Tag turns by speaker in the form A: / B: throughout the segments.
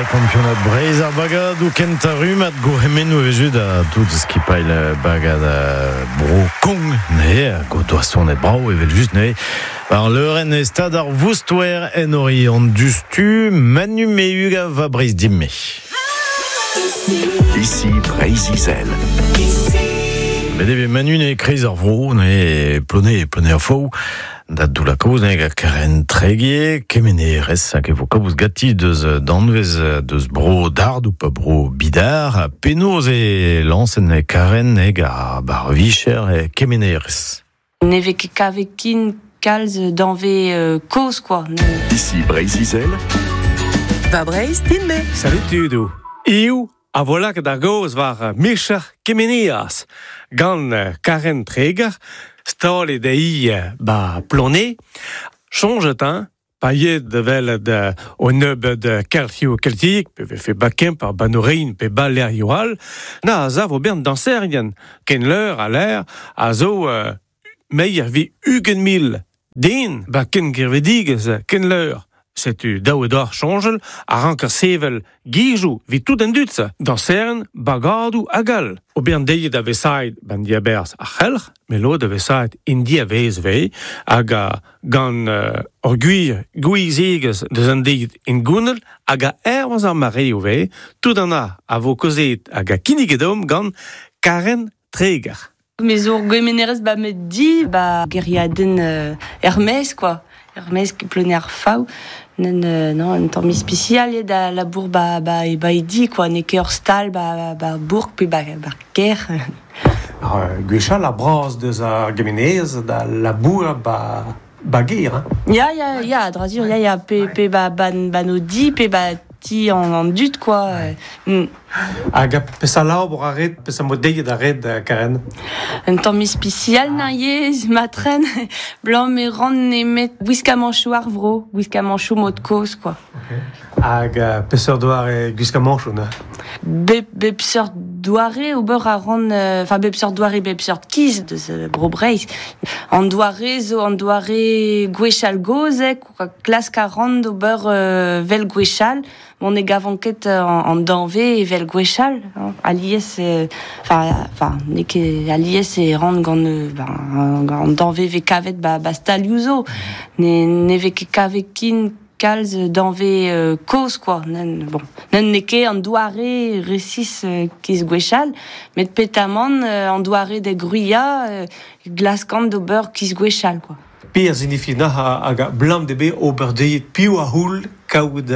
A: kampionad Breizh ar bagadoù kentañ rummad gourc'hemennoù evel-just da tout skipailh bagad Bro Kong neuze hag o doa sonet brav evel-just neuze war leurenn e stad ar Voustouer en Oriant dustu Manu Mehuga va Breizh Dimme.
B: Ici Breizh-Izel.
A: Bet e vez Manu ne kreiz ar vro ne Plone Plone ar Faou Da Doull-ha-Kozh nag a Karen Tregier, kemenerez hag e vo kaoz ganti deus danvez deus bro Dard ou pa bro Bidar. Penaos e lañsenn Karen heg ar bar vicher kemenerez?
C: Ne vez ket kavet kin kalz danvez kozh quoi.
B: Ici Breizh-Izel.
D: Va Breizh din-me.
E: Salut tudoù. Hiziv a vo lakaet ar gaoz war micher Kemeneaz gant Karen Treger, stalet eo 'ba Plonez. Soñjet hein, pa yet da welet o nebeud kelc'hioù keltiek, pe vefe 'ba Kemper, 'ba Norein pe 'ba lec'hioù all, na a sav ober dañserien ken leur ha leur a zo meier 'vit 20 000 den 'ba ken gevredigezh, ken leur. Setu dav eo deoc'h soñjal a ranker sevel gizoù evit tout an dud-se, dañserien, bagadoù hag all. Ober an deiz da vesaet ban diabarzh ar c'helc'h, met lod da vesaet en diavaez ivez, hag gant ur gwir gouiziegezh deus an deiz hengounel hag a hervez ar mareoù ivez, tout an a a vo kaozeet hag a kinniget deomp gant Karen Treger.
C: Me zo ur gemenerez 'ba ma di, 'ba gêriadenn er-maez quoi. Er-maez Ploneour-Faou. Non, un tamm ispisial eo da labour 'ba 'ba 'ba e di quoi. N'eo ket ur stal 'ba 'ba bourk pe 'ba 'ba kêr.
E: Gwechall ar bras deus ar gemenerez da labourat 'ba 'ba gêr hein.
C: Ya, ya, ya, a dra sur, ya, ya, pe, pe 'ba 'ba 'ba no di, pe 'ba ti an, an dud quoi.
E: Hag peseurt labour a ret, peseurt mod deiet a ret, Karen?
C: Un tamm ispisial na yezh, ma tren, blanc me ran nemet gwiskamanchoù ar vro, gwiskamanchoù mod kozh quoi.
E: Hag peseurt doare gwiskamanchoù neuze?
C: Bep, bep seurt doare ober a ran, enfin bep seurt doare, bep seurt kiz deus Bro Breizh. An doare zo an doare gwechall gozh, klask a ran d'ober vel gwechall. Bon, ne gavan ket an danvez evel gwechall. Hein. Alies, enfin, n'eo ket alies e ran gant ben, an danvez vez kavet ba, ba stalioù zo. Ne, ne vez ket kavet kin kalz danvez kozh, quoi. Nen, bon, nen n'eo ket an doare resis kiz gwechall, met petamant an doare da gwriañ glaskan d'ober kiz gwechall, quoi.
E: Pe a zinifi nac'h hag a blam de bet ober dezhi piv a c'houl kaout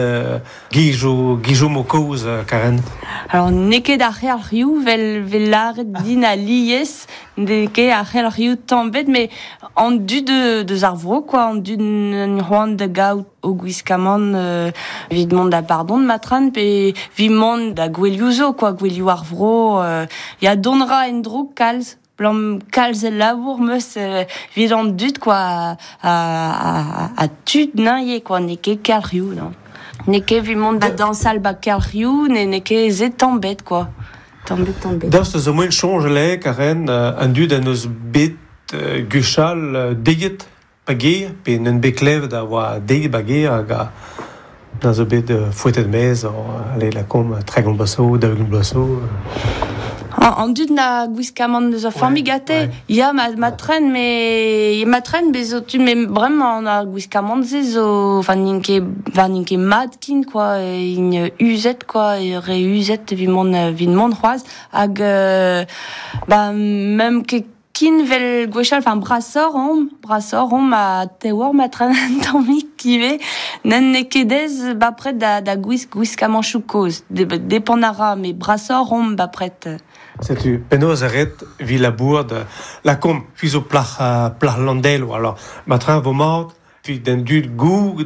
E: gizoù gizoù mo kozh Karen?
C: Alors n'eo ket ar c'helc'hioù vel vel lâret din alies, n'eo ket ar c'helc'hioù tamm ebet, met an dud deus ar vro quoi, an dud c'hoant da gaout o gwiskamant evit mont da pardon matran pe evit mont da gouelioù zo quoi, gouelioù ar vro. Ya dont ra en-dro kalz. Blam kalz el labour 'meus evit an dud quoi ha tud neuze quoi n'eo ket kelc'hioù non. N'eo ket evit mont da dañsal 'ba kelc'hioù n'eo ket se tamm 'bet quoi. Tamm 'bet tamm 'bet.
E: Daoust zo moaien soñjal eo Karen an dud en deus bet gwechall deiet pa gêr pe n'en bet klevet a oa deiet ba gêr hag a a zo bet foetet maez ale lakaomp 30 bloaz zo, 40 bloaz zo.
C: An dud na gwiskamant deus ur familh gante ya ma, ma tren me ma tren bez zo tud me bremañ ar gwiskamant-se zo enfin n'int ket enfin n'int ket mat kin quoi int uzet quoi re uzet evit mont evit mont c'hoazh hag bah même ket Kin 'vel gwechall, enfin brasoc'h omp, brasoc'h omp ha tewoc'h ma tren un tammig ivez. N'en ket aes bapred da, da gwisk gwiskamanchoù kozh. Depend a ra, met brasoc'h omp bapred.
E: Setu penaos a ret evit labourat lakaomp c'hwi zo plac'h plac'h Landelo alors ma train vo mat Evit an dud goût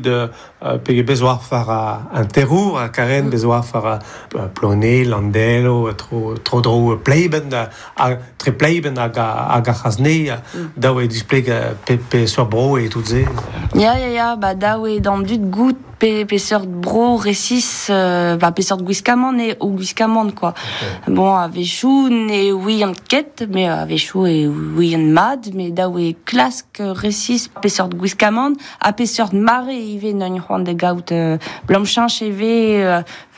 E: pe bez oar war an terour ha Karen bez oar war Plone, Landelo, tro-dro Pleiben ha tre Pleiben hag hag ar C'hasne dav eo displeg pe peseurt bro eo tout se.
C: Ya, ya, ya, ba dav eo d'an dud goût. Pe, pe seurt bro resis, ba, pe seurt gwiskamant e o gwiskamant, quoi. Okay. Bon, a-wechou ne ouian ket, mais a-wechou e ouian mad, mais daou e klask resis pe seurt gwiskamant, ha pe seurt mare ivez n'on c'hoant da gaout blam cheñch eve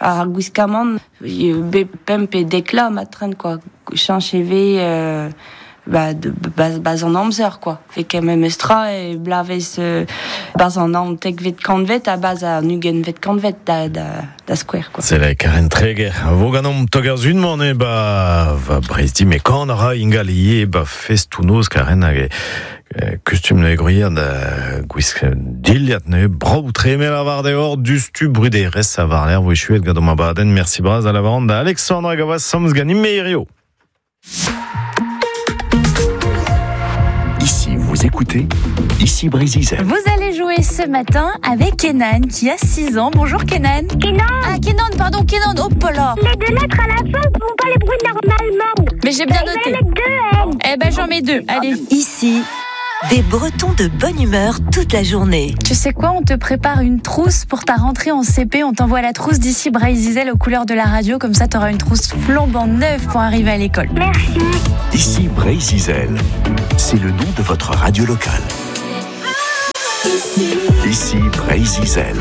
C: ar gwiskamant, be pemp pe dekla matren, quoi. Cheñch eve ba, de, baz, baz an amzer, quoi. Fe ket memes tra e blavez baz an naontekvet kantvet ha baz an ugentvet kantvet da, da, da skouer, quoi.
A: C'est la Karen Treger. Vo ganomp tog ar zun-man e ba va Breizh di me kan a ra ingal ivez ba festoù-noz Karen hag e kustum neuze gwriat da gwisk dilhad neuze brav tre me lavar deoc'h dustu bruderezh a war-lerc'h vo echuet gant ma badenn. Merci bras a lavaran da Alexandre hag a oa samz ganin me hirio.
B: Ici, vous écoutez Ici Breizh-Izel.
F: Vous allez jouer ce matin avec Kenan qui a 6 ans. Bonjour Kenan.
G: Kenan.
F: Ah Kenan, pardon, Kenan. Oh là.
G: Les deux lettres à la fin ne font pas les bruits normalement.
F: Mais j'ai bien noté.
G: Mettre deux N.
F: Eh ben j'en mets deux. Allez.
H: Ici, des Bretons de bonne humeur toute la journée.
F: Tu sais quoi, on te prépare une trousse pour ta rentrée en CP. On t'envoie la trousse d'ici Breizh-Izel aux couleurs de la radio. Comme ça, t'auras une trousse flambant neuve pour arriver à l'école.
G: Merci.
B: Ici Breizh-Izel, c'est le nom de votre radio locale. Ici, Ici Breizh-Izel.